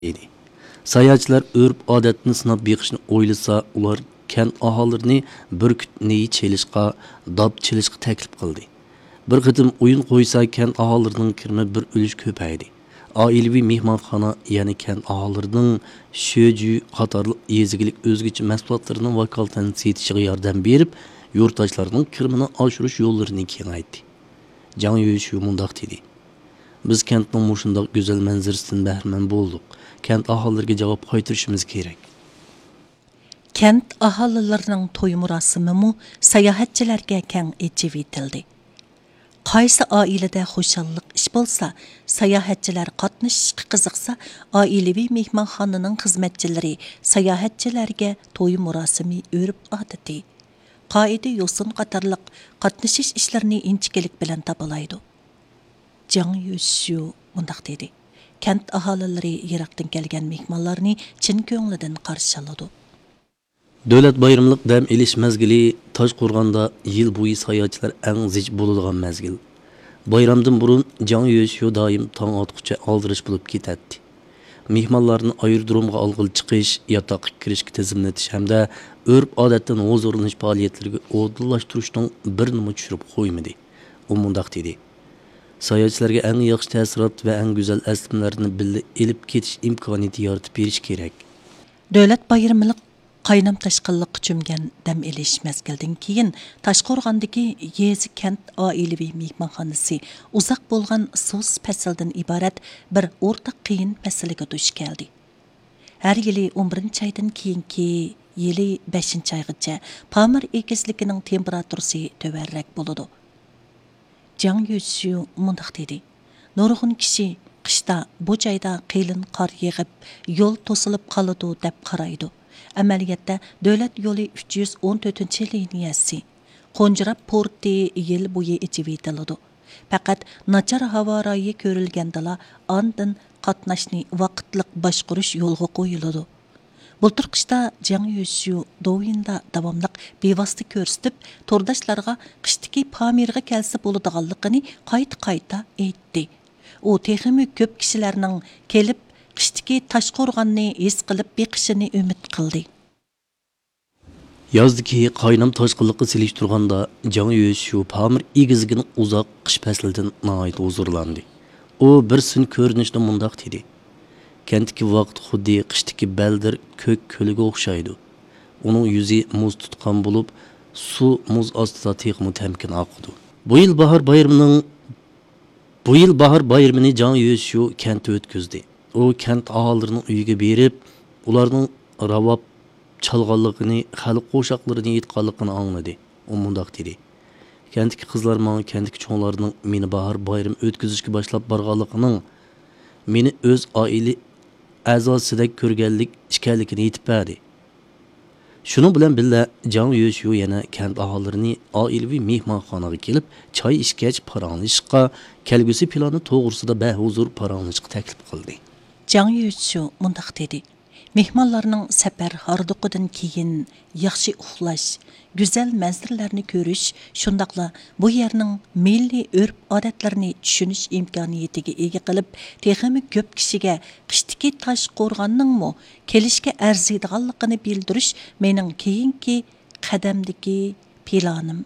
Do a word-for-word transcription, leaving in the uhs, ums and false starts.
ئىدى. ساياھەتچىلەر ئۆرپ-ئادەتنى سىناپ بېقىشنى ئويلىسا، ئۇلار كەنت ئاھالىلىرىنى بۈركۈت نېيى چېلىشقا، داپ چېلىشقا تەكلىپ قىلدى. بىر قېتىم ئويۇن قويسا، كەنت ئاھالىلىرىنىڭ كىرىمى بىر ئۈلۈش كۆپەيدى. ئائىلىۋى مېھمانخانا، يەنى كەنت ئاھالىلىرىنىڭ شۆجۈ قاتارلىق يېزا ئىگىلىك ئۆزگىچە مەھسۇلاتلىرىنىڭ ۋاكالىتەن سېتىشىغا ياردەم بېرىپ، يۇرتداشلارنىڭ كىرىمىنى ئاشۇرۇش يوللىرىنى كېڭەيتتى. جاڭ يۆشيۇ مۇنداق دېدى: «بىز كەنتنىڭ مۇشۇنداق گۈزەل مەنزىرىسىدىن بەھرىمەن بولدۇق. كەنت ئاھالىلىرىگە جاۋاب قايتۇرۇشىمىز كېرەك.» كەنت ئاھالىلىرىنىڭ توي مۇراسىمىمۇ ساياھەتچىلەرگە كەڭ ئېچىۋېتىلدى. قايسى ئائىلىدە خۇشاللىق ئىش بولسا، ساياھەتچىلەر قاتنىشىشقا قىزىقسا، ئائىلىۋى مېھمانخانىنىڭ خىزمەتچىلىرى ساياھەتچىلەرگە توي مۇراسىمى ئۆرپ-ئادىتى، قائىدە-يوسۇن قاتارلىق قاتنىشىش ئىشلىرىنى ئىنچىكىلىك بىلەن تاپىلايدۇ. جاڭ يۈشيۇ مۇنداق دېدى: «كەنت ئاھالىلىرى يىراقتىن كەلگەن مېھمانلارنى چىن كۆڭلىدىن قارشى ئالىدۇ.» دۆلەت بايرىملىق دەم ئېلىش مەزگىلى تاشقورغاندا يىل بويى ساياھەتچىلەر ئەڭ زىچ بولىدىغان مەزگىل. بايرامدىن بۇرۇن جاڭ يۈشيۇ دائىم تاڭ ئاتقۇچە ئالدىراش بولۇپ كېتەتتى. مېھمانلارنى ئايرودرومغا ئالغىلى چىقىش، ياتاققا كىرىشكە تىزىملىتىش ھەمدە ئۆرپ-ئادەتتىن ھۇزۇرلىنىش پائالىيەتلىرىگە ئورۇنلاشتۇرۇشنىڭ بىرىنىمۇ چۈشۈرۈپ قويمىدى. ئۇ مۇنداق دېدى: «ساياھەتچىلەرگە ئەڭ ياخشى تەسىرات ۋە ئەڭ گۈزەل ئەسلىمىلەرنى بىللە ئېلىپ كېتىش ئىمكانىيىتى يارىتىپ بېرىش كېرەك.» دۆلەت بايرىملىق قاينام تاشقىنلىققا چۆمگەن دەم ئېلىش مەزگىلدىن كېيىن، تاشقورغاندىكى يېزا كەنت ئائىلىۋى مېھمانخانىسى ئۇزاق بولغان سۇس پەسلىدىن ئىبارەت بىر ئورتاق قىيىن مەسىلىگە دۇچ كەلدى. ھەر يىلى ئون بىرىنچى ئايدىن كېيىنكى يىلى بەشىنچى ئايغىچە پامىر ئېگىزلىكىنىڭ تېمپېراتۇرىسى تۆۋەنرەك بولىدۇ. جاڭ يۈشيۇ مۇنداق دېدى: «نۇرغۇن كىشى قىشتا بۇ جايدا قېلىن قار يېغىپ، يول توسۇلۇپ قالىدۇ دەپ قارايدۇ. ئەمەلىيەتتە، دۆلەت يولى ئۈچ يۈز ئون تۆتىنچى لىنىيەسى، قونجىراپ پورتى يىل بويى ئېچىۋېتىلىدۇ. پەقەت ناچار ھاۋا رايى كۆرۈلگەندىلا، ئاندىن قاتناشنى ۋاقىتلىق باشقۇرۇش يولغا قويۇلىدۇ.» بۇلتۇر قىشتا جاڭ يۈشيۇ دوۋيىندا داۋاملىق بىۋاسىتە كۆرسىتىپ، تورداشلارغا قىشتىكى پامىرغا كەلسە بولىدىغانلىقىنى قايتا-قايتا ئېيتتى. ئۇ تېخىمۇ كۆپ كىشىلەرنىڭ كېلىپ، قىشتىكى تاشقورغاننى ھېس قىلىپ بېقىشىنى ئۈمىد قىلدى. يازدىكى قاينام تاشقىنلىققا سېلىشتۇرغاندا، جاڭ يۈشيۇ پامىر ئېگىزلىكىنىڭ ئۇزاق قىش پەسلىدىن ناھايىتى ھۇزۇرلاندى. ئۇ بىر سۈن كۆرۈنۈشتە مۇنداق دېدى: «كەنتتىكى ۋاقىت خۇددى قىشتىكى بەلدىر كۆك كۆلىگە ئوخشايدۇ. ئۇنىڭ يۈزى مۇز تۇتقان بولۇپ، سۇ مۇز ئاستىدا تېخىمۇ تەمكىن ئاقىدۇ.» بۇ يىل باھار بايرىمىنىڭ، بۇ يىل باھار بايرىمىنى جاڭ يۈشيۇ كەنتتە ئۆتكۈزدى. ئۇ كەنت ئاھالىلىرىنىڭ ئۆيىگە بېرىپ، ئۇلارنىڭ راۋاب چالغانلىقىنى، خەلق قوشاقلىرىنى ئېيتقانلىقىنى ئاڭلىدى. ئۇ مۇنداق دېدى: «كەنتتىكى قىزلار ماڭا كەنتتىكى چوڭلارنىڭ مېنى باھار بايرىمى ئۆتكۈزۈشكە باشلاپ بارغانلىقىنىڭ، مېنى ئۆز ئائىلە ئەزاسىدەك كۆرگەنلىك ئىكەنلىكىنى ئېيتىپ بەردى.» شۇنىڭ بىلەن بىللە، جاڭ يۈشيۇ يەنە كەنت ئاھالىلىرىنى ئائىلىۋى مېھمانخانىغا كېلىپ، چاي ئىچكەچ پاراڭلىشىشقا، كەلگۈسى پىلانى توغرىسىدا بەھۇزۇر پاراڭلىشىشقا تەكلىپ قىلدى. جاڭ يۈشيۇ مۇنداق دېدى: «مېھمانلارنىڭ سەپەر ھاردۇقىدىن كېيىن ياخشى ئۇخلاش، گۈزەل مەنزىرىلەرنى كۆرۈش، شۇنداقلا بۇ يەرنىڭ مىللىي ئۆرپ-ئادەتلىرىنى چۈشىنىش ئىمكانىيىتىگە ئىگە قىلىپ، تېخىمۇ كۆپ كىشىگە قىشتىكى تاشقورغاننىڭمۇ كېلىشكە ئەرزىيدىغانلىقىنى بىلدۈرۈش مېنىڭ كېيىنكى قەدەمدىكى پىلانىم.»